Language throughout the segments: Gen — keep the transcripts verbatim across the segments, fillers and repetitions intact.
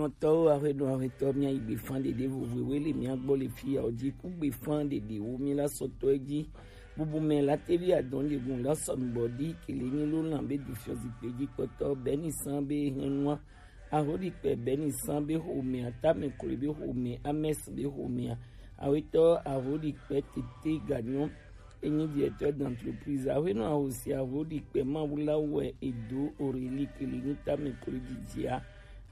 Nɔtɔwo, aƒenɔ, aƒetɔ, mía yi gbefan ɖeɖe vovovowo le mía gbɔ le fi ya o ji ku gbefan ɖeɖewo mí la sɔtɔ ji. Bubu mɛ la tevi adɔn ɖegun la sɔn bɔ di kele mí lo lan be du fiɔ zikpe ji kpɔtɔ bɛni san be hɛnua. Ahoɖikpɛ bɛni san be xomea, tamɛ klo be xomea, amɛs be xomea. Awetɔ ahoɖikpɛ tete ganyɔ. Enyi directeur d'entreprise. Aƒenɔ ahosi ahoɖikpɛ mawula wɛ edo Aurélie kele nyi tamɛ klo jijia.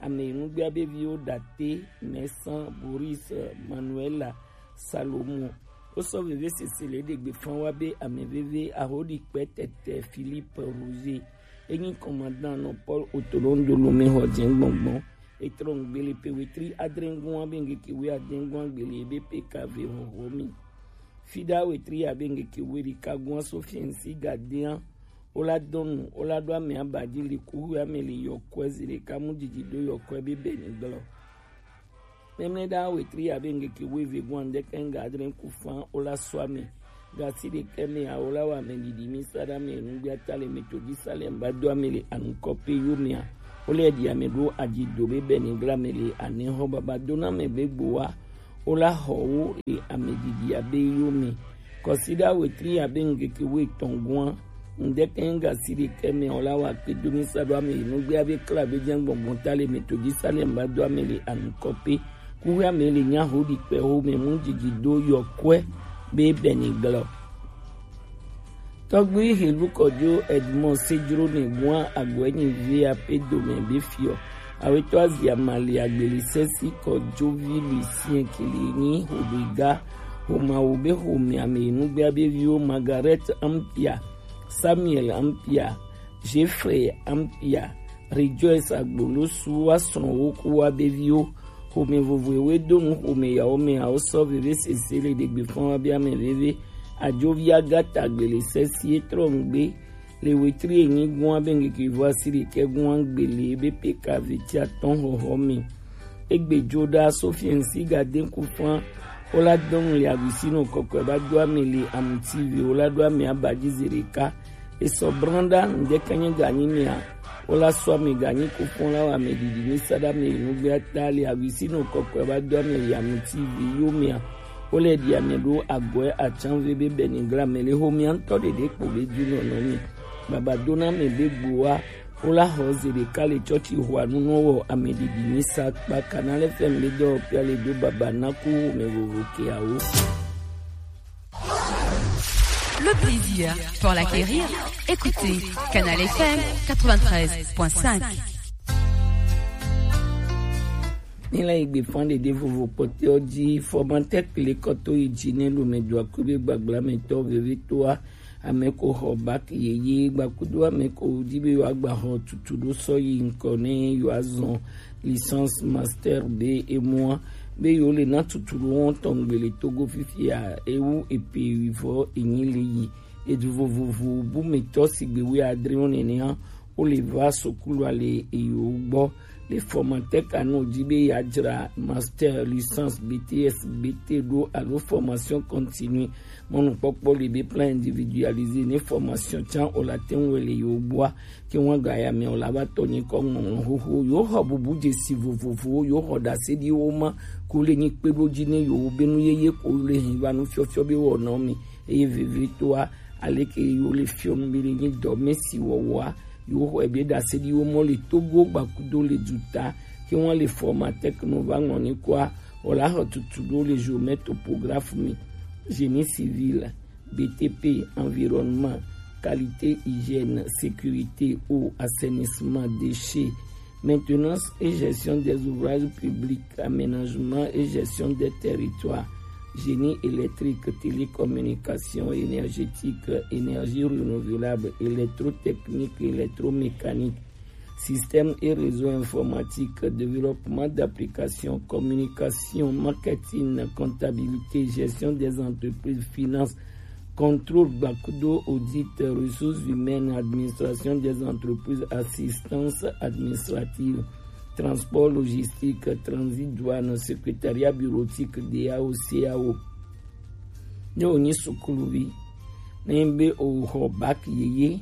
Ame nugbea be viwo date, Mɛsan, Boris, Manuela, Salomo. Wosɔ veve sese le ɖegbe fan wa be ame veve ahoɖikpɛ tete Philippe Roger. Enyi commandant nɔ Paul Otolon Dolome xɔ jɛ gbɔngbɔn. Etrɔ ŋgbe le pe wetri adre ŋgɔn be ŋgeke we adre ŋgɔn gbele be pe kave hoho mi. Fida wetri abe ŋgeke we ɖeka gɔn so fiɛnsi gadea. Wola dɔnu, wola ɖo ame abaji le kuhu ame le yɔkɔe zi ɖeka mu didi ɖo yɔkɔe be bɛni gblɔ. Mɛmlɛ ɖa wetri abe ŋgeke we ve gɔn ŋdɛkɛ ŋga adre ku fan wola sɔ ame. Gasi ɖekɛ mɛ awo la wa ame didi mi sa ɖa ame nugbea ta le me to ji sa le mba do ame le anukɔ pe yo mea. Wole ɖi ame ɖo aji do be bɛni gblɔ ame le anɛ xɔ baba do na ame be gbo wa. Wola xɔ wo le ame didi abe yo me. Kɔsiɖa wetri abe ŋgeke we tɔn gɔn. Ŋdɛkɛ ŋga si ɖekɛ mɛ wola wa kpe do mi sa ɖo ame nugbea be kla be jɛ gbɔngbɔn ta le me to ji sa le mba do ame le anukɔ pe. Kuxeame le nya ho ɖi kpe ho me mu didi do yɔkɔe be bɛni gblɔ. Tɔgbi Helu Kɔjo Edmond Sejro ne gua agɔe nyi via pe dome be fiɔ. Awetɔ azia mali agbeli sesi Kɔjo vi Lucien kili nyi hodo iga. Homawo be home ame nugbea be viwo Margaret Ampia, Samuel Ampia, Jeffrey Ampia, Rejoice Agbolosu wa srɔ̃ wo ku wa be viwo. Home vovoe do nu home yawo me awo sɔ veve sese le ɖegbe fɔn wa be ame veve. Ajovi Agata gbele sesi etrɔ ŋgbe. Le wetri enyi gua be ŋgeke vo asi ɖekɛ gua gbele be pe ka ve ti atɔn xɔxɔ me. Egbe jo ɖa Sofiɛnsi ga de ku flan. Wola dɔn le aguisino kɔkɔe ba do ame le amuti vi wola do ame abaji ze ɖeka. Esɔ branda ŋdɛkɛ nye ganyi mea. Wola sɔ ame ganyi ku flan la wa ame didi mi sa ɖa ame nugbea ta le aguisino kɔkɔe ba do ame le amuti vi yo mea. Wole ɖi ame ɖo agɔe atsanve be bɛni gla me le xomea ŋutɔ ɖeɖe kpo be du nɔnɔ mi. Baba do na ame be gboa. Wola xɔ ze ɖeka le tsɔtsi xɔa nu nɔ wɔ ame ɖiɖi mi sa kpa Canal F M be dɔwɔƒea le do baba na ku home vovo keawo. Le plaisir pour l'acquérir, écoutez Canal F M quatre-vingt-treize point cinq. Ni la igbe fan ɖeɖe vovo kpɔtɔ ji fɔmatɛk le kɔtɔ yi ji ne lome do akube gbagla me tɔ veve toa. Ame ko xɔ bac yeye gbakudo ame ko di be yewoagba xɔ tutu ɖo sɔ yi ŋkɔ ne yewoazɔn licence, master be emua be yewo le na tutu ɖo wɔn tɔn gbe le Togo fifia ewu epe wivɔ enyi le yi edu vovovo bu me tɔ sigbe wi adre wɔn nenea. Wole va sukulu ale eyo gbɔ le fɔmatɛk anɔ di be yeadzra master, licence, B T S, B T ɖo alo formation continue. Mɔnukpɔkpɔ le be plan individualisé ne formation can o la te ŋu le yo gbɔa ke ŋu ga ya me o la va tɔ nyi kɔ ŋɔŋlɔ xoxo yo xɔ bubu dzesi vovovowo yo xɔ ɖase ɖi wo ma ko le nyi kpe ɖo dzi ne yo be nu yeye ko le hin va nu fiɔfiɔ be wɔnɔ mi. Eye vevitɔa, aleke yewo le fiɔ nu be le nyi dɔ me si wɔwɔa, yewo xɔe be ɖase ɖi wo mɔ le Togo gbakudo le duta ke wọn le formatɛk nu va ŋlɔ ni kɔa, wòle axɔ tutu ɖo le géomètre topographe me, génie civil, B T P, environnement, qualité, hygiène, sécurité, eau, assainissement, déchets, maintenance et gestion des ouvrages publics, aménagement et gestion des territoires, génie électrique, télécommunication, énergétique, énergie renouvelable, électrotechnique, électromécanique, système et réseau informatique, développement d'applications, communication, marketing, comptabilité, gestion des entreprises, finance, contrôle, gbakudo, audit, ressources humaines, administration des entreprises, assistance administrative, transport, logistique, transit, douane, secrétariat bureautique, D A O, C A O. Ne wònyi sukuluvi, ne be wòxɔ bac yeye,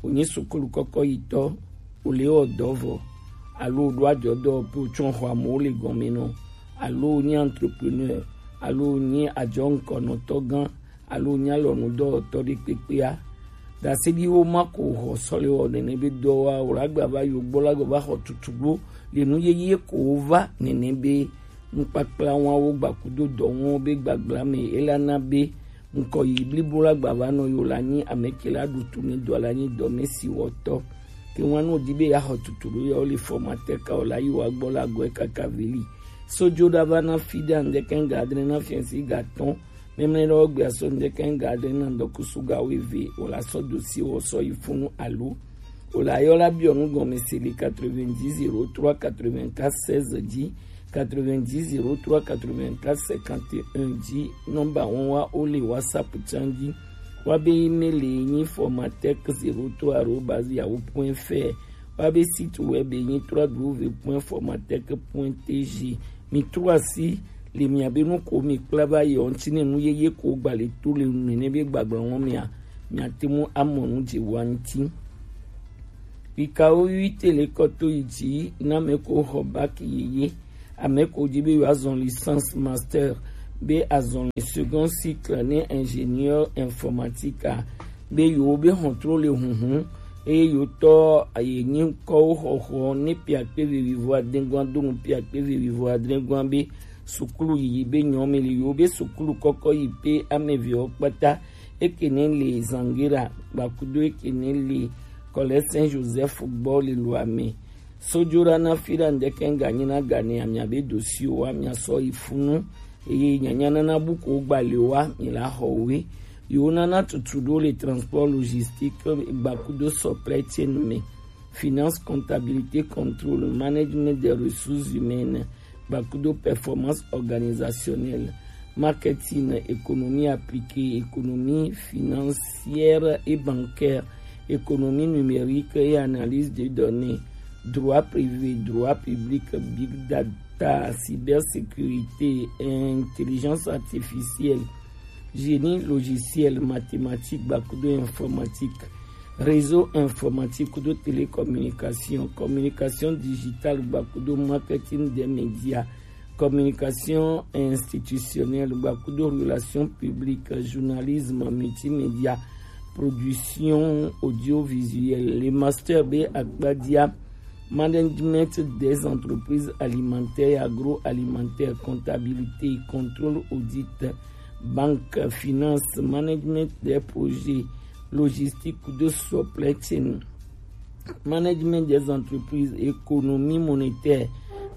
wònyi sukulu kɔkɔ yitɔ, wòle wɔ dɔ vɔ, alo o ɖo ajɔ dɔwɔƒe, o tsɔ xɔ amewo le gɔme nɔ, alo o nyi entrepreneur, alo o nyi ajɔ ŋkɔnɔtɔ gã, alo o nyi alɔnu dɔwɔtɔ ɖe kpekpea, dase ɖi wo ma ko xɔ sɔ le wɔ nene be dɔwɔa, o la gba va yo gbɔ la gba va xɔ tutu ɖo le nu yeye ko wo va nene be nukpakpla wa wo gba kudo dɔ wɔn be gbagbla me, e la na be ŋkɔ yi blibo la gba va nɔ yo la nyi ame ke la ɖu tu ne dɔ la nyi dɔ me si wɔtɔ. Ke ŋua no di be ya xɔ tutu ɖo ya wo le formateur ka o la yi wa gbɔ la gɔe kaka veli. Sojo ɖa va na fi ɖe andeke ga adre na fiɛnsi ga tɔn. Memle ɖe wo gbea so ndeke ga adre na ŋdɔkusu ga wo eve o la sɔ dosi wɔ sɔ yi funu alo o la yɔ la biɔ nu gɔme se le quatre-vingt-dix zéro trois quatre-vingt-quatre seize dzi, quatre-vingt-dix zéro trois quatre-vingt-quatre cinquante et un dzi. Nɔmba wɔn wa o le WhatsApp tsan dzi. Wa be email le nyi formatec zéro trois arobase yahoo point fr. Wa be site web nyi trois w point formatec point t g. Mi trɔ asi le mia be nu ko mi kpla va yi ŋuti ne nu yeye ko gba le to le nene be gbagbla wɔn mia, mia te mu amɔ nu dze wa ŋuti. Pikawo wi te le kɔto yi dzi na me ko xɔ bac yeye. Ame ko dzi be yewoazɔ licence, master, be azɔ le second cycle ne ingénieur informatique a, be yewo be xɔtrɔ le huhun eye yewo tɔ ye nyi ŋkɔwo xɔxɔ ne piakpe vevivo adegɔa do nu piakpe vevivo adegɔa be sukulu yiyi be nyɔ me le yewo be sukulu kɔkɔ yi pe ame evewo kpata. Eke ne le Zangira gbakudo eke ne le Collège Saint Joseph gbɔ le lua me. Sojo ɖa na fi ɖa ŋdeke ga nyi na ga ne amia be dosi o wa mia sɔ yi funu. Eye nyanya nana bu ko gba le wa mi la xɔ we. Yo nana tutu ɖo le transport logistique gbakudo supply chain me. Finance, comptabilité, contrôle, management des ressources humaines, gbakudo performance organisationnelle, marketing, économie appliquée, économie financière et bancaire, économie numérique et analyse de données, droit privé, droit public, big data, cybersécurité, intelligence artificielle, génie logiciel, mathématique, gbakudo informatique, réseau informatique kudo télécommunication, communication digitale gbakudo marketing des médias, communication institutionnelle gbakudo relations publiques, journalisme, multimédia, production audiovisuelle. Le master be akpadia, management des entreprises alimentaires et agroalimentaires, comptabilité, contrôle, audit, banque, finance, management des projets, logistique de supply chain, management des entreprises, économie monétaire,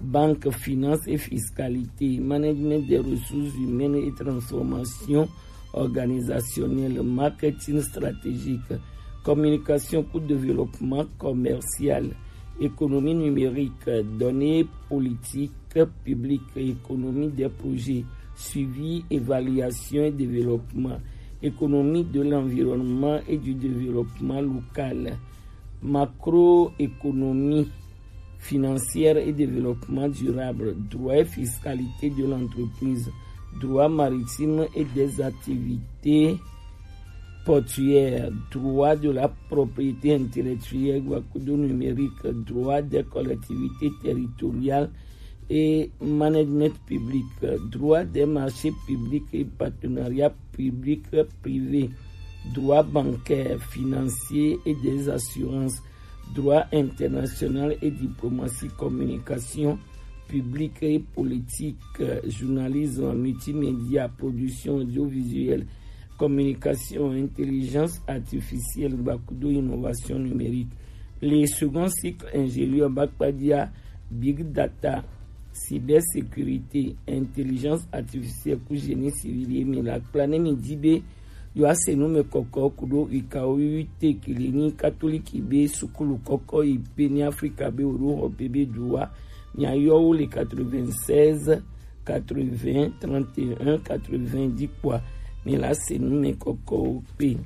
banque, finance et fiscalité, management des ressources humaines et transformation organisationnelle, marketing stratégique, communication pour développement commercial, économie numérique, données politiques publiques, économie des projets, suivi, évaluation et développement, économie de l'environnement et du développement local, macroéconomie financière et développement durable, droit et fiscalité de l'entreprise, droit maritime et des activités portuaire, droit de la propriété intellectuelle, gbakudo numérique, droit des collectivités territoriales et management public, droit des marchés publics et partenariats publics privés, droit bancaire, financier et des assurances, droit international et diplomatie, communication publique et politique, journalisme, multimédia, production audiovisuelle, communication, intelligence artificielle, gbakudo innovation numérique. Le second cycle ingénieur bakpadia big data, cybersécurité, intelligence artificielle ku génie civil ye mi la kpla ne mi di be yo ase nu me kɔkɔ kudo ikawo wiwi te kele ni katoliki be sukulu kɔkɔ yi pe ni Afrika be o do xɔ pe be du wa. Mi ayɔ wo le quatre-vingt-seize, quatre-vingts, trente et un, quatre-vingts di kpɔa, mi la se nu me kɔkɔ wo pe.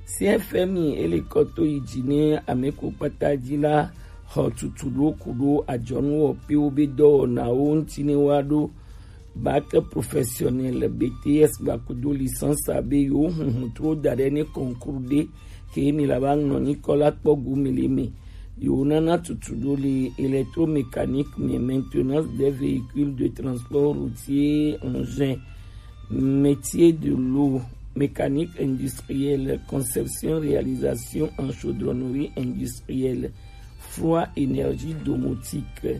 C F M I ele kɔto yi dzi ne ame ko kpata dzi la xɔ tutu ɖo ku ɖo adzɔnu wɔƒewo be dɔwɔnawo ŋuti ne woaɖo bac professionnel, B T S gbakudo licence abe yewo huhu tro da ɖe ne concours ɖe ke mi la va nɔ nyikɔ la kpɔ gome le me. Yo nana tutu ɖo le électromécanique, mais maintenance des véhicules de transport routier, engin, métier de l'eau, mécanique industrielle, conception, réalisation en chaudronnerie industrielle, froid, énergie domotique.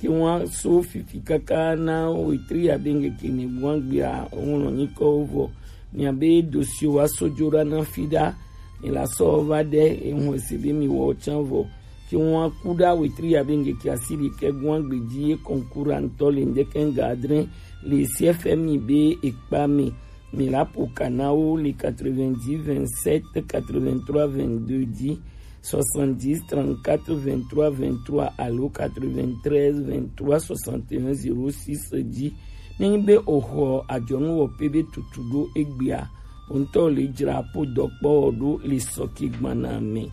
Ke wan so fifi kaka na wetri ya be ŋgeke ne gwan gbea, ŋlɔ nyikɔ vɔ. Mia be dossier wa so jo ɖa na fi ɖa, mi la sɔ va ɖe, ehun ese be mi wɔ tsan vɔ. Ke wan ku ɖa wetri ya be ŋgeke asi ɖekɛ gwan gbeji ye concours ŋutɔ le ŋdeke ŋga adre le C F M I be ekpa me. Mi la po ka na wo le quatre-vingt-dix vingt-sept quatre-vingt-trois vingt-deux dix, soixante-dix trente-quatre vingt-trois vingt-trois alo quatre-vingt-treize vingt-trois soixante et un zéro six dix. Ne nyi be o xɔ ajɔnu wɔ pe be tutu ɖo egbea, o ŋutɔ le dzra po dɔkpɔ ɖo le sɔki gbana me.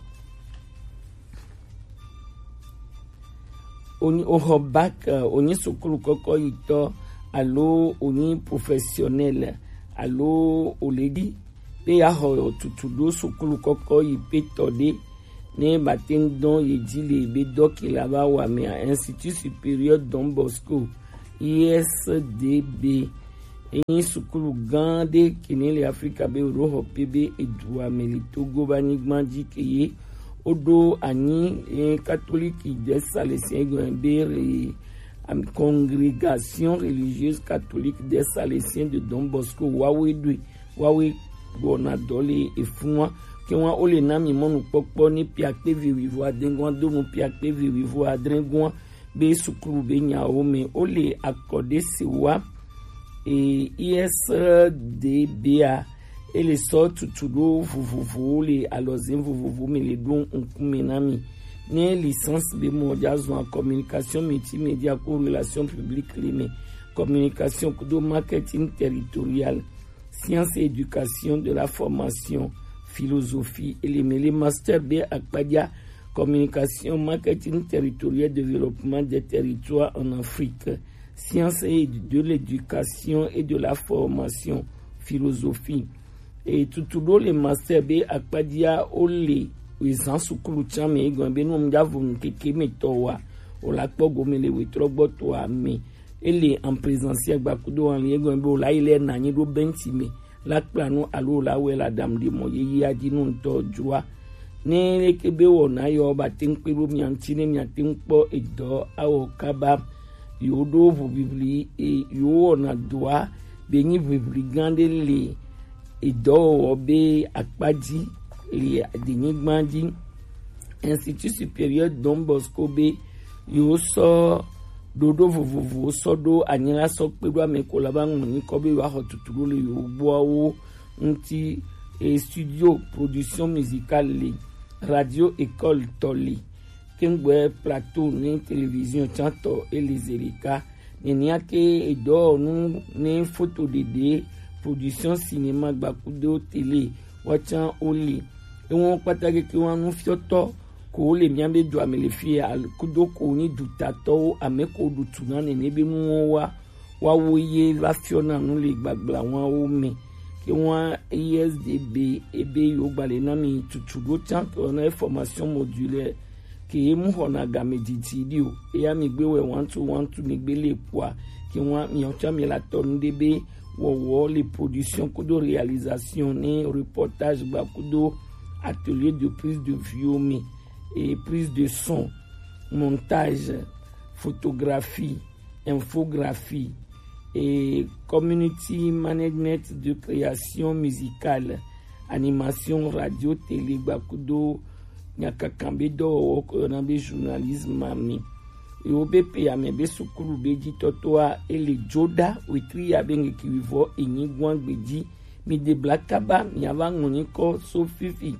Onyi, oxɔ bac, eh, onyi sukulu kɔkɔ yitɔ alo onyi professionnel alo oledi be ya xɔ tutu ɖo sukulu kɔkɔ yi pe tɔ ɖe ne ba te ŋu dɔn ye dzi le be dɔki la va wa mea, Institut Supérieur Don Bosco, I S D B. Enyi sukulu gã ɖe ke ne le Afrika be woɖo xɔ pe be edua me le Togo ba nyigba dzi ke ye woɖo anyi, eh, Catholique des Salesiens gɔn be re, am, Congrégation religieuse catholique des Salesiens de Don Bosco wawe ɖoe, wawe gbɔna dɔ le efunua. Ke wan wo le na mi mɔnukpɔkpɔ ni piakpe vi wivo adengua do nu piakpe vi wivo adrengua be sukulu be nyawo me. Wo le akɔ ɖe se wa, e, I S D B a, e le sɔ tutu ɖo vovovowo le alɔzin vovovo me le ɖo ŋkume na mi. Ne licence be mɔ ja zɔn communication multimédia ko relation publique le me, communication kudo marketing territorial, science et éducation de la formation, philosophie, e le me le master be akpaja, communication, marketing territorial, développement des territoires en Afrique, science et de l'éducation et de la formation, philosophie. E tutu ɖo le master be akpajia wo le ezan sukulu tsan me egɔn be nu mu ja vo nu keke me tɔ wa, o la kpɔ gome le wetrɔ gbɔ tɔ a me. E le en présentiel gba kudo en ligne egɔn be o la yi le na nyi ɖo bench me la kpla nu alo la wɛ la dam ɖe mɔ yeyea dzi nu ŋutɔ dzroa. Ne leke be wɔna yɔ ba te ŋu kpe ɖo mia ŋuti ne mia te ŋu kpɔ edɔ awɔ kaba. Yewo ɖo ʋuʋiʋli, e, yewo wɔna dɔa be nyi ʋiʋli gã ɖe le edɔwɔwɔ be akpa dzi le adenyigba dzi. Institut Supérieur Don Bosco be yewo sɔ ɖoɖo vovovowo sɔ ɖo anyi la sɔ kpe ɖo ame ko la va ŋlɔ nyikɔ be yewoaxɔ tuturu le yewo gbɔawo ŋuti. E, studio production musicale le, radio école tɔ le, kengbe plateau ne télévision tsãtɔ e le zelika. Nenia ke edɔwɔnu ne foto ɖeɖe, production cinéma gbakudo télé, woatsã wo le. Ewo kpata keke wa nufiɔtɔ ko wo le mia be dua me le fie, al-, kudo ko nyi dutatɔwo, ame ko ɖu tu na nene be nuwo wa, wa wo ye va fiɔ na nu le gbagblã wa wo me. Ke wa I S D B ebe yo gbalẽ na mi tutu ɖo tsã ke na formation modulaire ke ye mu xɔna game didi ɖi o. Eya mi gbe wɛ one two one two mi gbe le kpoa, ke wa mi tsã mi la tɔ nu ɖe be wɔwɔ le production kudo réalisation ne reportage gba kudo atelier de prise de vue mi, et prise de son, montage, photographie, infographie, et community management de création musicale, animation radio, télé gba kudo nyakakan be dɔwɔwɔ ko yɔna be journalisme mi. Yewo be pe ame be sukulu be dzi tɔtɔa ele dzo ɖa wetri ya be ŋkeke wivɔ enyi gwan gbe dzi. Mi de bla kaba, mi ava ŋlɔ nyikɔ so fifi.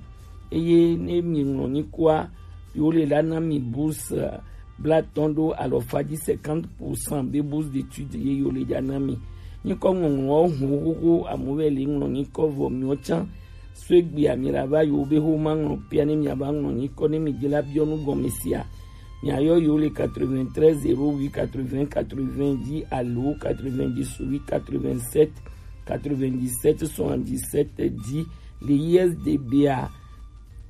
Eye ne mi ŋlɔ nyikɔa, yewo le la na mi bourse, eh, blatɔn ɖo alɔfa dzi, cinquante pour cent be bourse d'études ye yewo le dza na mi. Nyikɔ ŋlɔŋlɔwo hun xoxo, amewo vɛ le ŋlɔ nyikɔ vɔ miwo tsã. So egbea mi la va yewo be xoma ŋlɔ pia ne mi ava ŋlɔ nyikɔ ne mi de la biɔ nu gɔme sia. Mi ayɔ yewo le quatre-vingt-treize zéro huit quatre-vingts quatre-vingts dzi alo quatre-vingt-dix-huit quatre-vingt-sept quatre-vingt-dix-sept soixante-dix-sept dzi le I S D B a.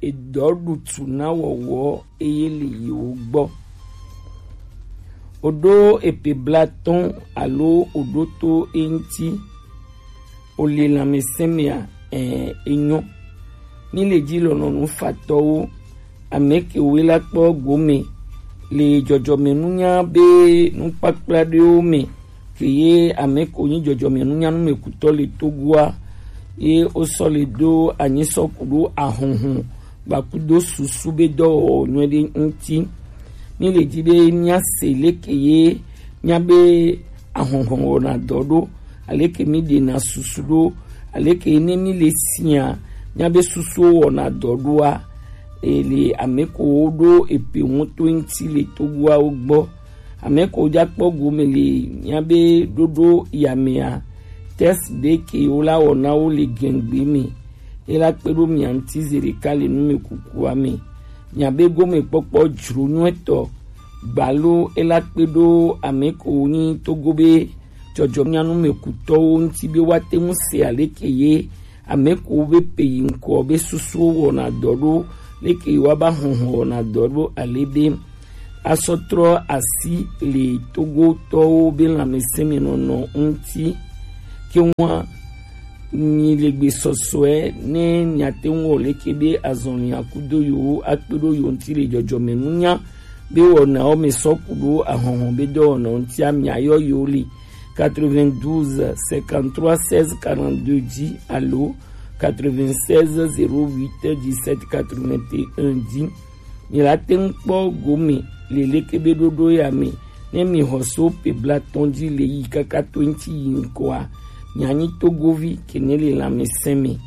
edɔ ɖutu na wɔwɔ eye le yewo gbɔ. Oɖo epe blatɔn alo oɖo to eŋti, ole lanmɛsɛnmɛa? Ɛɛ, enyɔ. Mi le ji lɔnɔnu fatɔwo, amɛ ke woe la kpɔ gome le jɔjɔmɛnunya be nukpakpla ɖewo mɛ, ke ye amɛ ko nyi jɔjɔmɛnunya numɛkutɔ le Togoa, ye wosɔ le do anyi sɔ ku ɖo ahɔnhɔn gbakudo susu be dɔwɔwɔ nyuiɖe ŋti. Mi le ji be mia se leke ye mia be ahɔnhɔn wɔna dɔ ɖo, aleke mi ɖena susu ɖo, aleke ne mi le sia mia be susuwo wɔna dɔ ɖoa, ele amɛ ko wo ɖo epe ŋuto ŋti le Togoawo gbɔ. Amɛ ko ja kpɔ gome le mia be ɖoɖo ya mɛa, test ɖe ke wo la wɔna wo le gɛngbe mɛ. E la kpe ɖo mia ŋti zeɖeka le numɛkukua mɛ. Mia be gomekpɔkpɔ jro nyuitɔ gbalo e la kpe ɖo amɛ ko nyi Togo be jɔjɔmɛnunya numɛkutɔwo ŋti be woate ŋu se aleke ye amɛ ko be pe yi ŋkɔ be susuwo wɔna dɔ ɖo, leke ye wa ba hɔnhɔn wɔna dɔ ɖo ale be asɔ trɔ asi le Togotɔwo be lanmɛsɛnmɛnɔnɔ ŋti. Ke ŋua nyi le gbe sɔsɔe ne miate ŋu wɔ leke be azɔnli akudo yewo akpe ɖo yewo ŋti le jɔjɔmɛnunya be wɔnawo mɛ sɔ ku ɖo ahɔnhɔn be dɔwɔnawo ŋtia, mia yɔ yewo le quatre-vingt-douze cinquante-trois seize quarante-deux ji alo quatre-vingt-seize zéro huit dix-sept quatre-vingt-un ji. Mi la te ŋu kpɔ gome le leke be ɖoɖo ya mɛ, ne mi xɔ so pe blatɔn ji le yi kaka to ŋti yi ŋkɔa, mia nyi Togovi ke ne le lanmɛsɛnmɛ.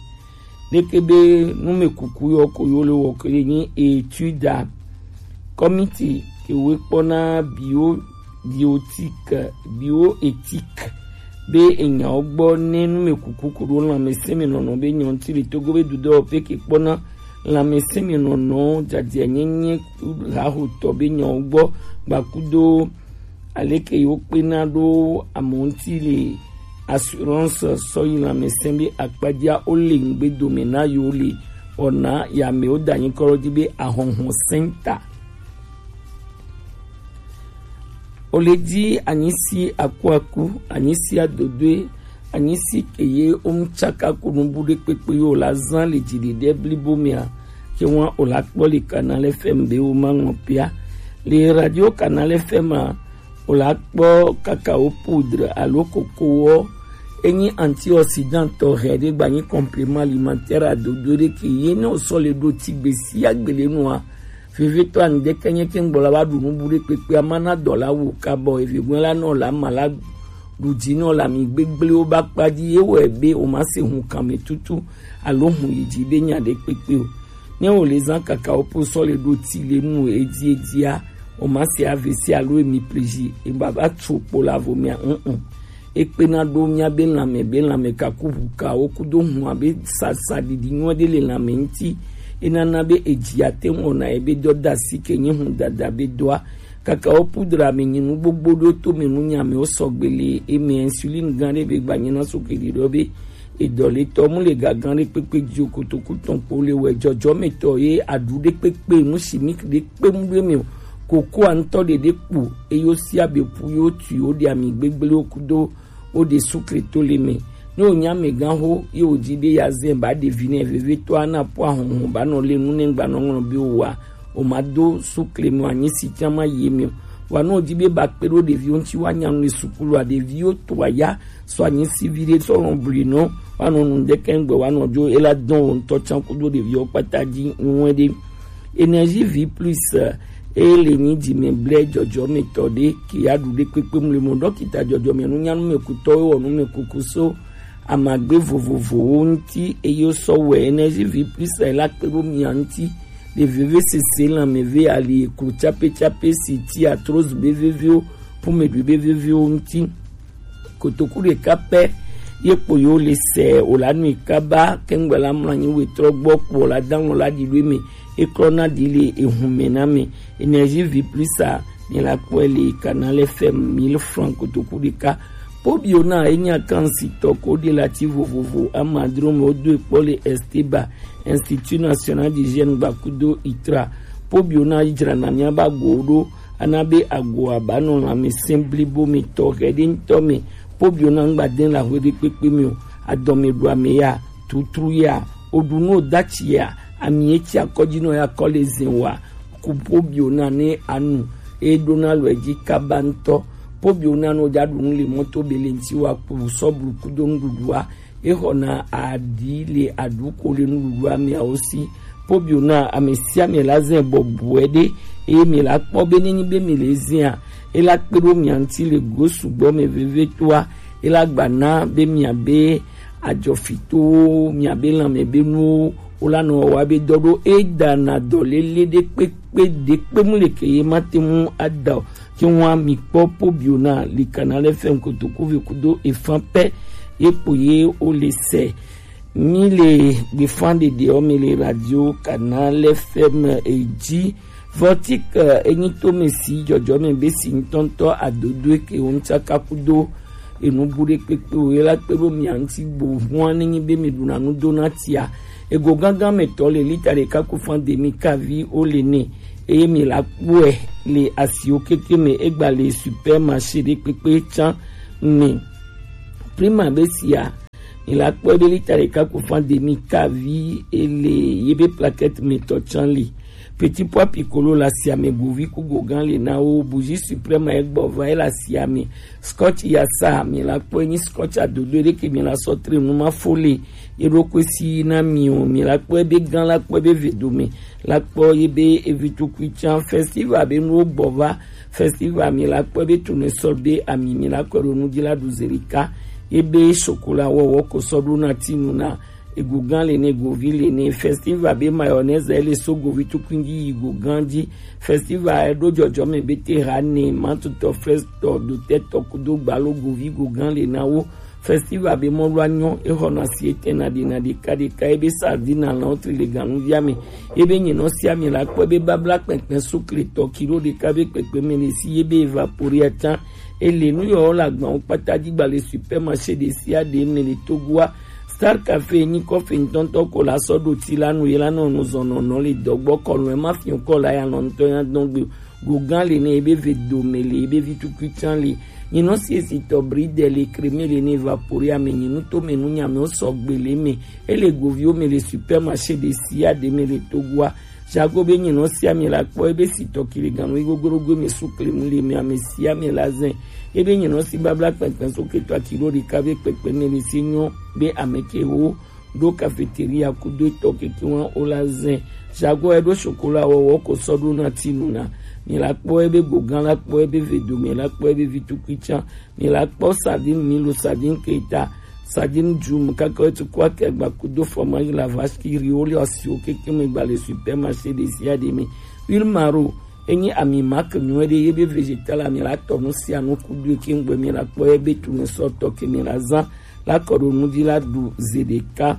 Leke be numɛkuku yɔ ko yo le wɔ ke le nyi étude a, kɔmiti ke wo kpɔna bio biotique, bioéthique be enyawo gbɔ ne numɛkuku ko ɖo lanmɛsɛnmɛnɔnɔ be nyawo ŋti le Togo be dudɔ pe ke kpɔna lanmɛsɛnmɛnɔnɔ jajɛ nyenye hahotɔ be nyawo gbɔ gbakudo aleke yewo kpena ɖo amewo ŋti le assurance sɔ yi lanmɛsɛn be akpajia wo le ŋgbe dome na yewo le wɔna ya mɛ wo da nyi kɔ ɖo ji be ahɔnhɔn sɛnta. Ole ji anyisi akuaku, anyisi adodoe, anyisi ke ye wo mu tsaka ko nubu ɖekpekpe yo la zan le jiɖiɖe blibo mɛa, ke ŋua o la kpɔ le Canal F M be wo ma ŋlɔ pia. Le radio Canal F M a, o la kpɔ cacao poudre alo kokowɔ. Enyi antioxydant tɔxɛ ɖe gba nyi complément alimentaire adodo ɖe ke ye ne o sɔ le ɖo tigbe sia gbe le nua, vevetɔ ani ɖe ke nye ke ŋgbɔ la wa ɖu nubu ɖekpekpe ama na dɔ la wo kabɔ evegbɔn la nɔ la ma la ɖu dzi nɔ la mi gbegble wo ba kpa dzi ye wɔ be o ma se hun kan me tutu alo hun yi dzi be nya ɖekpekpe o. Ne o le zan cacao poudre sɔ le ɖo ti le nu edi edia, o ma se A V C alo emi pleji e ba ba tso kpo la vo mia un un. E kpena ɖo mia be lanmɛ be lanmɛ kaku ʋu kawo kudo hun abe sasaɖiɖi nyuie ɖe le lanmɛ ŋti. E nana be eji ate ŋu wɔna ebe dɔ da si ke nyi hun dada be dɔa. Cacao poudre me nyi nu gbogbo ɖo to me nu nya me wo sɔgbe le eme insuline gan ɖe be gba nyi na so ke ɖi ɖɔ be edɔletɔ mu le gagan ɖe kpekpe dzi o, kotoku tɔn kpo le wɛ jɔjɔmetɔ ye aɖu ɖe kpekpe nu chimique ɖe kpe mu ɖe me o. Kokoa ŋutɔ ɖeɖe kpo eyo sia be ƒu yo tu yo ɖe ami gbegble wo kudo wo ɖe sukle to le me. Ne wo nya me gan ho ye wo dzi be ya zɛ ba ɖevi nɛ vevetɔ ana po ahɔnhɔn ba nɔ le nu ne gba nɔ ŋlɔ be wo wa o ma do sukle me o anyi si can ma ye me o. Wa ne wo dzi be ba kpe ɖo ɖeviwo ŋuti wa nya nu le sukulu a ɖeviwo to aya sɔ anyi si vi ɖe sɔ lɔn bli nɔ wa nɔ nu ɖe kɛŋgbɛ wa nɔ dzo ela dɔn wo ŋutɔ can kudo ɖeviwo kpata dzi ŋue ɖe. Énergie vie plus, eh, e le nyi dzime blɛ jɔjɔmetɔ ɖe ke ya ɖu ɖe kpekpe mu le mɔ ɖɔkita jɔjɔme nunyanu me kutɔ wɔ nu me kuku so amagbe vovovowo ŋuti eye sɔ wɛ Énergie vie plus e la kpe ɖo mia ŋuti le veve sese lanmeve ali eklo tsape tsape si ti arthrose be veviwo, pumeɖui be veviwo ŋuti. Kotoku ɖeka pɛ ye kpo yo le sɛ o la nui kaba kɛŋgbɛ la mlɔ anyi wetrɔ gbɔ kpo la dan lɔ la ɖi ɖo eme e klɔ na ɖi le ehun mɛ na mɛ. Énergie vie plus a mi la kpɔe le Canal F M mille francs kotoku ɖeka Pobiona enyi akansitɔ ko ɖe lati vovovo amadro me wodo ekpɔ le Esteba, Institut National d'Hygiène gbakudo itra. Pobiona dzrana mia ba go ɖo ana be ago aba nɔ lãmesẽ blibo me tɔ xɛ ɖe ŋutɔ me. Pobiona ŋgba de la hwe ɖe kpekpe me o. Adɔme ɖu ame ya, tutru ya, oɖu nu odatsi ya, ami etsi akɔdzi nɔ ya kɔ le zin wa. Ku pobiona ne anu e ɖona lɔ edzi kaba ŋutɔ. Pobiona no ja ɖu nu le mɔto be le ŋuti wa ku sɔblu kudo nuɖuɖua. Exɔna aɖi le aɖuko le nuɖuɖua meawo si. Pobiona ame sia ame la zɛ bɔbɔe ɖe eye mi la kpɔ be nenyi be mi le zɛa, e la kpe ɖo mia ŋuti le go sugbɔ me vevie toa, e la gba na be mia be adzɔfitowo, mia be lãme be nuwo wo la nɔ wa be dɔ ɖo e da na dɔ lele ɖe kpekpe ɖe kpe mu le ke ye ma te mu ada o. Ke ŋua mi kpɔ pobiona li Canal F M kotoku ve kudo efan pɛ ye kpo ye wo le sɛ. Mi le gbefan ɖeɖe o mi le radio Canal F M e dzi. Vortic enyi to me si dzɔdzɔ me be si ŋutɔŋutɔ adodo ke wo ŋutsaka kudo enu bu ɖe kpekpe o ye la kpe ɖo mia ŋuti gbo hua nenyi be mi ɖuna nu do na tia. Ego gangan me tɔ le lita ɖeka ku fan demi kavi wo le ne eye mi la kpɔe le asiwo keke me egba le supermarché ɖe kpekpe tsã me. Prima be sia mi la kpɔe be lita ɖeka ku fan demi kavi ele ye be plaquette me tɔ tsã li. Petit pois piccolo la sia me govi ku gogan le na wo bougie suprême egbɔ va e la sia me. Scotch ya sa mi la kpɔe nyi scotch adodo ɖe ke mi la sɔ tre nu ma fo le ye ɖo kwe si na mi o mi la kpɔe be gan la kpɔe be ve dome la kpɔ ye be evi tukui tsã festival be nuwo gbɔ va. Festival mi la kpɔe be tournesol be ami mi la kɔe ɖo nu dzi la ɖu zi ɖeka ye be chocolat wɔwɔ ko sɔ ɖo na tinu na ego gan le ne govi le ne festival be mayonnaise ele so govi tukui dzi yi go gan dzi. Festival eɖo dzɔdzɔ me be te ha ne matutɔ frestɔ dotɛtɔ kudo gbalo govi go gan le na wo. Festival be mɔlu anyɔ exɔna si etɛna ɖena ɖeka ɖeka ebe sardine alɔn tri le ganuvia me ebe nyinɔ sia mi la kpɔ ebe babla kpɛkpɛ sukle tɔ kilo ɖeka be kpɛkpɛ me le si ebe evaporia tsã ele nu yɔ la gbawo kpata dzi gba le supermarché ɖe sia ɖe me le Togoa. Star Café nyi kɔfe ŋutɔŋutɔ ko la sɔ ɖo ti la nu ye la nɔ nu zɔnɔnɔ le dɔgbɔ kɔnu ema fi ŋkɔ la ya nɔ ŋutɔ ya dɔn gbe. Gogan le ne ebe ve dome le ebe vi tukui tsã le. Nyinɔ si esi tɔ bridel le kreme le ne evapore ame nyinu to me nu nyame wo sɔgbe le me. Ele goviwo me le supermarché ɖe sia ɖe me le Togoa. Jago be nyinɔ sia me la kpɔ ebe si tɔ kiligan nu igogorogo me su klemu le me ame sia me la zɛ. Ebe nyinɔ si babla kpɛkpɛ so ketɔ akilo ɖeka be kpɛkpɛ me le si nyɔ be ame ke wo ɖo cafeteria kudo etɔ keke wa wo la zɛ. Jago eɖo chocolat wɔwɔ ko sɔ ɖo na tinu na. Mi la kpɔ ebe gogan la kpɔ ebe ve dome la kpɔ ebe vi tukui tsã. Mi la kpɔ sardine milo sardine keta sardine djum kaka etu kɔ akɛ gba kudo fromage la vache qui rit wo le asiwo keke me gba le supermarché ɖe sia ɖe me. Huile maro enyi ami marque nyuie ɖe ye be végétal ami la tɔ nu sia nu kudo eke ŋgbe mi la kpɔ ebe tu ne sɔ tɔ ke mi la zã la kɔ ɖo nu dzi la ɖu ze ɖeka.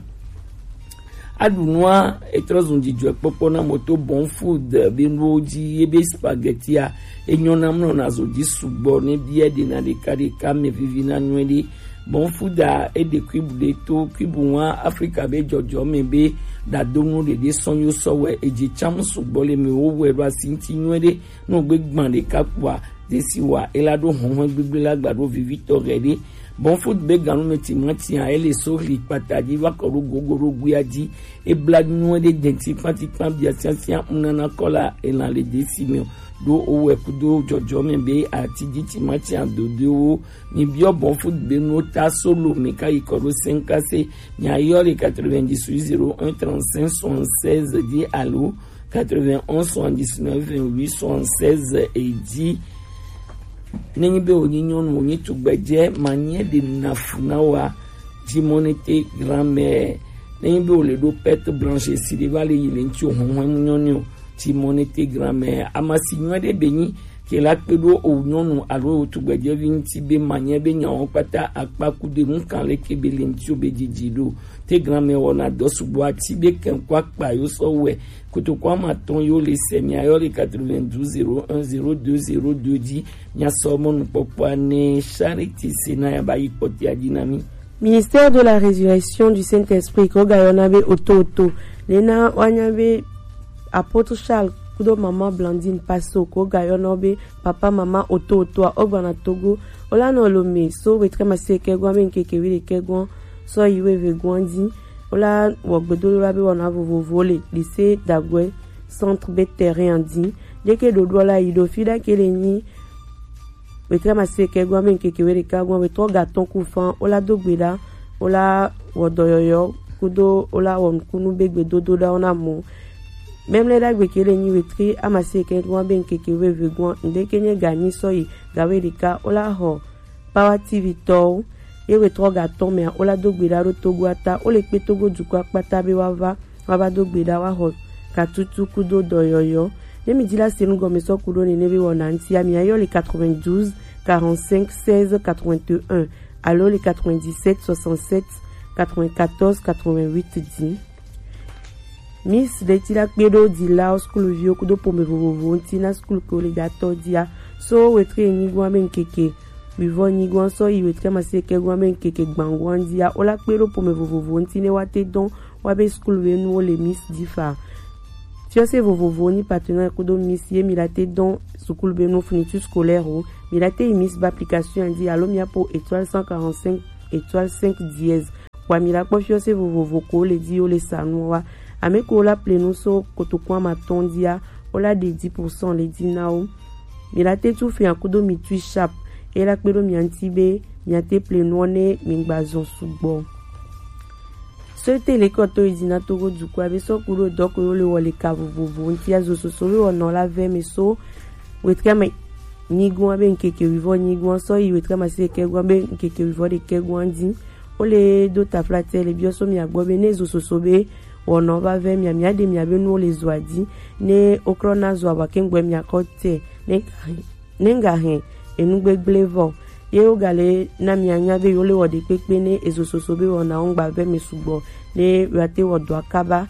Aɖu nua etrɔ zun dzidzɔkpɔkpɔ na moto bon food be nuwo dzi ye be spaghettia enyɔ na mlɔ na zo dzi sugbɔ ne biɛ ɖe na ɖeka ɖeka me vivi na nyuie ɖe. Bon food a eɖe kuibu ɖe to kuibu wa Afrika be dzɔdzɔ me be ɖadonu ɖeɖe sɔn yo sɔ wɛ edzi tsam sugbɔ le me wo wɛ ɖo asi ŋuti nyuie ɖe. Nugbe gbã ɖeka kpoa desi wa ela ɖo hɔnhɔn gbigble la gba ɖo vivitɔ ɣɛ ɖe. Bon food be ganu me timatia ele so hli kpata dzi va kɔ ɖo gogo ɖo guia dzi. Ebla nyuie ɖe denti kpati kpan bia siasia ŋu nana kɔla elan le desi me o. Ɖo owɛ kudo dzɔdzɔ me be ati dzi timatia dodoewo. Mi biɔ bon food be nuwo ta solo me ka yi kɔ ɖo senkase. Mi ayɔ le quatre-vingt-dix-huit zéro un trente-cinq soixante-seize dzi alo quatre-vingt-onze soixante-dix-neuf vingt-huit soixante-seize edzi. Nenyi be wònyi nyɔnu, wònyi tugbedzɛ, manyɛ ɖe nafu na wa. Dzimonete grammaire. Nenyi be wòle ɖo perte blanche si ɖe va le yi le ŋuti o hɔnhɔn mu nyɔnu o. Dzimonete grammaire. Amasi nyuie ɖe be nyi Ke la kpe ɖo o nyɔnu alo o tugbɛjɛvi ŋuti be manyɛ be nyawo kpata akpa kude ŋukan leke be le ŋuti o be didi ɖo. Te granmɛ wɔna dɔ sugbɔ ati be kɛnkɔ akpa yo sɔ wɛ. Kotoko ama tɔn yo le sɛ mia yɔ le quatre-vingt-douze zéro un zéro deux zéro deux dzi. Mia sɔ mɔnukpɔkpɔa ne Charity Sena ya ba yi kpɔtia dzi na mi. Ministère de la Résurrection du Saint-Esprit ko ga yɔna be oto oto. Lena wanya be Apôtre Charles kudo maman Blandine Paso ko ga yɔna be papa maman oto oto a ogbana Togo. Ola no lo me so wetre maseke gwa be nkeke wile ke gwa so yiwe ve gwa di. Ola wo gbedo la be wona vovovo le lycée Dagwe centre be terrain di. Deke dodo la yi do fi da kele ni wetre maseke gwa be nkeke wile ka gwa wetre ga ton ku fan ola do gbe da. Ola wo doyoyo kudo ola wo kunu be gbedo do da ona mo. Même les dagbe kele ni wetre amaseke gwa be nkeke weve gwa ndeke nye ga ni so yi ga wile ka ola ho Power T V tɔwo ye wetrɔ ga tɔn mɛa wola do gbe ɖa ɖo Togo ata wo le kpe Togo dukɔ akpata be wa va wa va do gbe ɖa wa xɔ katutu kudo dɔyɔyɔ. Ne mi di la se nu gɔme sɔ kudo nene be wɔna ŋuti a mi ayɔ le quatre-vingt-douze quarante-cinq seize quatre-vingt-un alo le quatre-vingt-dix-sept soixante-sept quatre-vingt-quatorze quatre-vingt-huit di. Miss ɖe ti la kpe ɖo dilawo skul viwo kudo pome vovovo ŋuti na skul ke wo le da tɔ dia so wetre nyigɔn be ŋkeke wivɔ nyigɔn sɔ yi wetre maseke gɔn be ŋkeke gbangɔn dia wo la kpe ɖo pome vovovo ŋuti ne wa te dɔn wa be skul be nuwo le Miss difa. Fiɔse vovovo ni partenaire kudo Miss ye mi la te dɔn sukulu be nu fourniture scolaire o mi la te yi Miss ba application di alo mi apo étoile cent quarante-cinq étoile cinq dièse. Wa mi la kpɔ fiɔse vovovo ko le di wo le sa nu wa. Ame ko la ple nu so kotokun ama tɔn dia wo la de dix pour cent le di na wo. Mi la te tu fia kudo mi tui sharp e la kpe ɖo mia ŋuti be mia te ple nuɔ ne mi gba zɔn sugbɔ. Sɔte le kɔtɔ yi di na Togo dukɔ abe sɔ kudo dɔ ko yo le wɔ le ka vovovo ŋuti azo soso be wɔnɔ la vɛ mi so wetre me nyigɔn abe ŋkeke wivɔ nyigɔn sɔ yi wetre maseke gɔn abe ŋkeke wivɔ ɖekɛ gɔn di. Wo le do taflatɛ le biɔ so mia gbɔ be ne zo soso be wɔnɔ va vɛ mia mia ɖe mia be nuwo le zo adi ne wokrɔ na zo aba kengbe mia kɔ tɛ ne ga hɛn ne ga hɛn enu gbegble vɔ ye wo ga le na mia nya be yo le wɔ ɖe kpekpe ne ezo soso be wɔna wo ŋgba vɛ mi sugbɔ ne wa te wɔ dɔ akaba.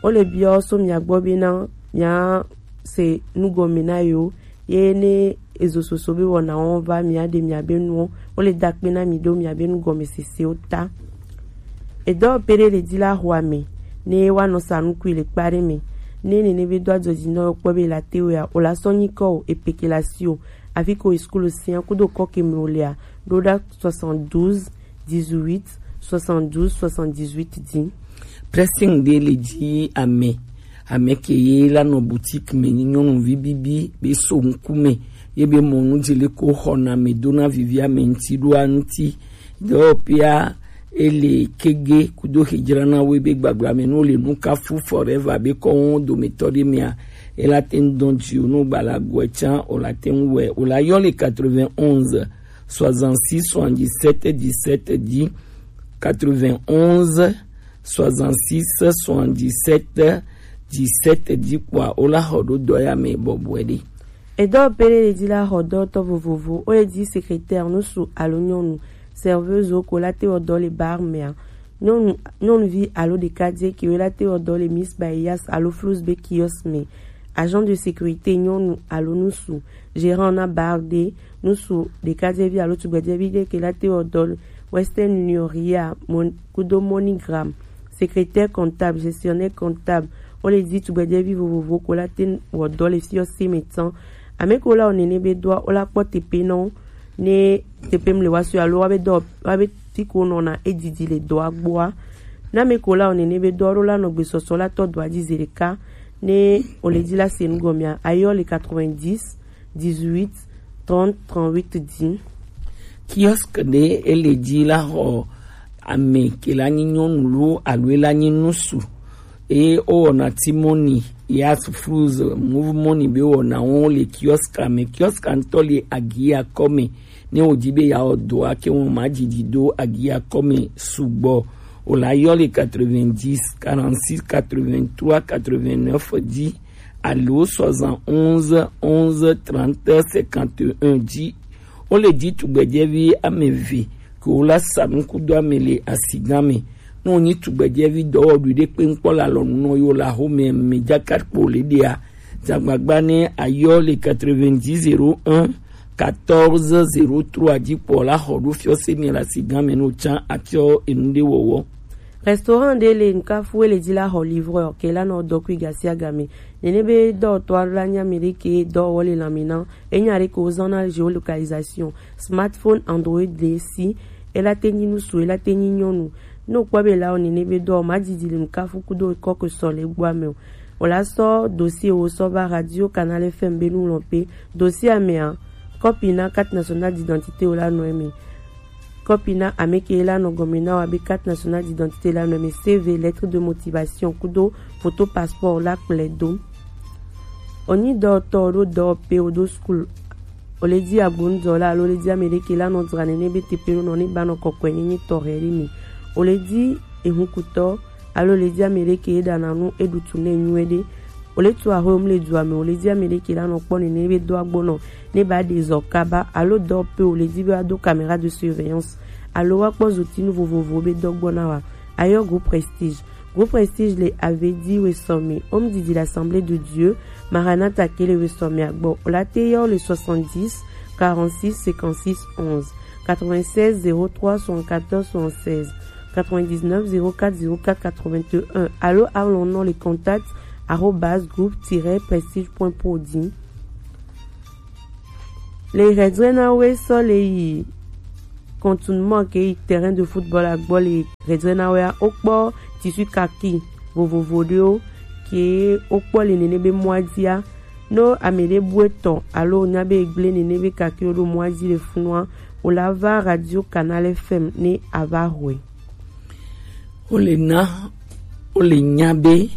Wo le biɔ so mia gbɔ be na mia se nugɔme na yo ye ne ezo soso be wɔna wo va mia ɖe mia be nuwo wo le da kpe na mi ɖo mia be nugɔme sesewo ta. Edɔ pere le di la xɔ ame ne wa nɔ sa nukui le kpa ɖe me ne nene be do adzɔ dzi nɔ kpɔ be la te wea o la sɔ nyi kɔ o epeke la si o afi ko eskulu sia kudo kɔ ke me o lea ɖo ɖa soixante-douze dix-huit soixante-douze soixante-dix-huit di. Pressing de le di ame ame ke ye la nɔ boutique me nyɔnuvi bibi be so ŋkume ye be mɔnu dzi le ko xɔna me dona vivi ame ŋti ɖo aŋti. Dɔwɔƒea ele kege kudo xedzranawo be gbagblame no le nukafu forever be kɔwo dometɔ ɖe mea ela te ŋu dɔn dzi o no gbala gɔe tsã o la te ŋu wɛ o la yɔ le quatre-vingt-onze soixante-six soixante-dix-sept dix-sept dix quatre-vingt-onze soixante-six soixante-dix-sept dix-sept dix kpɔa o la xɔ ɖo dɔ ya me bɔbɔe ɖe. Edɔ pele le di la xɔ dɔtɔ vovovo o le di secrétaire nusu alo nyɔnu serveuse ko la te wɔ dɔ le bar mea nyɔnu nyɔnuvi alo ɖekadze ke la te wɔ dɔ le Miss Bayas alo Flous be kiosk me agent de sécurité nyɔnu alo nusu gérant na bar de nusu ɖekadzevi alo tugbedzevi ɖe ke la te wɔ dɔ le Western Union ria kudo MoneyGram secrétaire comptable gestionnaire comptable wo le di tugbedzevi vovovo ko la te wɔ dɔ le fiɔ se me tsan ame ko la wɔ nene be dɔa wo la kpɔ tepe nɔ ne tepe mle wa sɔ alo wa be dɔ wa be fi ko nɔna edidi le dɔa gbɔa ne ame ko la wɔ nene be dɔa ɖo la nɔ gbesɔsɔ la tɔ dɔa dzi zi ɖeka ne o le di la se nu gɔmea ayɔ le quatre-vingt-dix dix-huit trente trente-huit di. Kiosk ɖe ele di la xɔ ame ke la nyi nyɔnu lo alo e la nyi nusu eye wowɔna ti mɔni yas fruz move mɔni be wɔna wo le kiosk me kiosk ŋutɔ le agia kɔme ne wòdi be yeawɔ dɔa ke ŋu ma didi do agia kɔme sugbɔ o la yɔ le quatre-vingt-dix quarante-six quatre-vingt-trois quatre-vingt-neuf di alo soixante-onze onze trente cinquante et un dzi. Wole dzi tugbedzɛvi ame eve ke wola sa nukudo ame le asigan me. Ne wonyi tugbedzɛvi dɔwɔɖui ɖe kpe ŋkpɔ le alɔnu nɔ yo le axome me dzaka kpo le ɖia, dzagbagba ne ayɔ le quatre-vingt-dix zéro un quatorze zéro trois dzi kpɔ la xɔ ɖo fiɔse mi le asigan me no tsan atsɔ enu ɖe wɔwɔ. Restaurant ɖe le Nkafu ele dzi la xɔ livreur ke la nɔ dɔ kui gasi agame. Nene be dɔwɔtɔ alo la nya mi ɖe ke dɔwɔwɔ le lãme na. Enya ɖe ke wozɔna géolocalisation, smartphone, Android le si. Ela te nyi ŋutsu, ela te nyi nyɔnu. Ne wokpɔ be la o nene be dɔ ma didi le Nkafu kudo kɔ ke sɔ le gbɔ ame o. Wòla sɔ dossier wo sɔ va Radio Canal F M be nu lɔn pe. Dossier amea, kɔpi na carte nationale d'identité wo la nɔ eme. Kɔpi na ame ke la nɔ gɔme na wa be carte nationale d'identité la nɔ eme, C V, lettre de motivation kudo photo passeport la kplɛ do. Onyi dɔwɔtɔ ɖo dɔwɔpe wo ɖo school. Ole di agbonudɔ la alo ole di ame ɖe ke la nɔ dzra nene be tepe ɖo nɔ ne ba nɔ kɔkɔe nyenye tɔ hɛ ɖe mi. Ole di ehunkutɔ alo ole di ame ɖe ke ɖana nu eɖutu ne nyuie ɖe. Ole tu aho mu le dua me, ole di ame ɖe ke la nɔ kpɔ nene be do agbonɔ ne ba ɖe zɔ kaba alo dɔwɔpe ole di be wa do caméra de surveillance alo wa kpɔ zotinu vovovo be dɔ gbɔ na wa. Ayɔ groupe Prestige. Groupe Prestige le Avedi Wesome, home didi l'Assemblée de Dieu, Maranatha ke le Wesome agbɔ. Ola te yɔ le soixante-dix quarante-six cinquante-six onze, quatre-vingt-seize zéro trois soixante-quatorze soixante-seize, quatre-vingt-dix-neuf zéro quatre zéro quatre quatre-vingt-un, alo alɔnɔ le contact arobase groupe tiret prestige point pro di. Le hɛdrɛ na we sɔ le yi contournement ke yi terrain de football agbɔ le hɛdrɛ na we a, wokpɔ tissu kaki vovovo ɖewo ke wokpɔ le nene be mɔa dzia. No ame ɖe bu etɔ alo nya be egble nene be kaki wo ɖo mɔa dzi le funua, wola va Radio Canal F M ne ava hɔe. Wole na wole nya be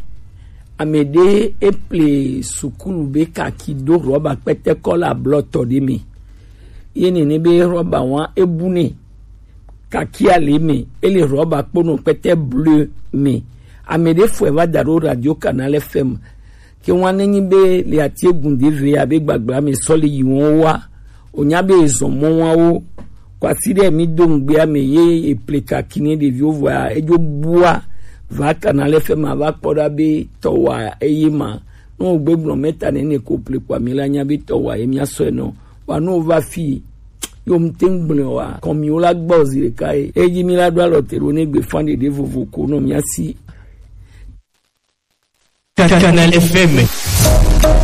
ame ɖe eple sukulu be kaki do rɔba kpɛtɛkɔ le ablɔtɔ ɖe me. Ye nene be rɔba wa ebu ne kaki ale me, ele rɔba kpono kpɛtɛ bleu me. Ame ɖe fɔe va da ɖo Radio Canal F M. Ke wa ne nyi be le ati egun de ve abe gbagbla me sɔ le yi wɔn wa. Onya be ezɔn mɔ wa wo. Kwasi ɖe mi do ŋgbea me ye eple kaki ne ɖeviwo vɔa edzo bua va Canal F M va kpɔ ɖa be tɔwa eye ma. Ne wogbe gblɔ mɛta nene ko ple kpɔ mi la nya be tɔwa ye mia sɔe nɔ. Wa ne wova fi yo mte ŋgblẽ wa kɔmiwo la gbɔ zi ɖeka ye. Eyi mi la ɖo alɔ te ɖo ne gbe fan ɖeɖe vovo ko nɔ mia si. Canal F M.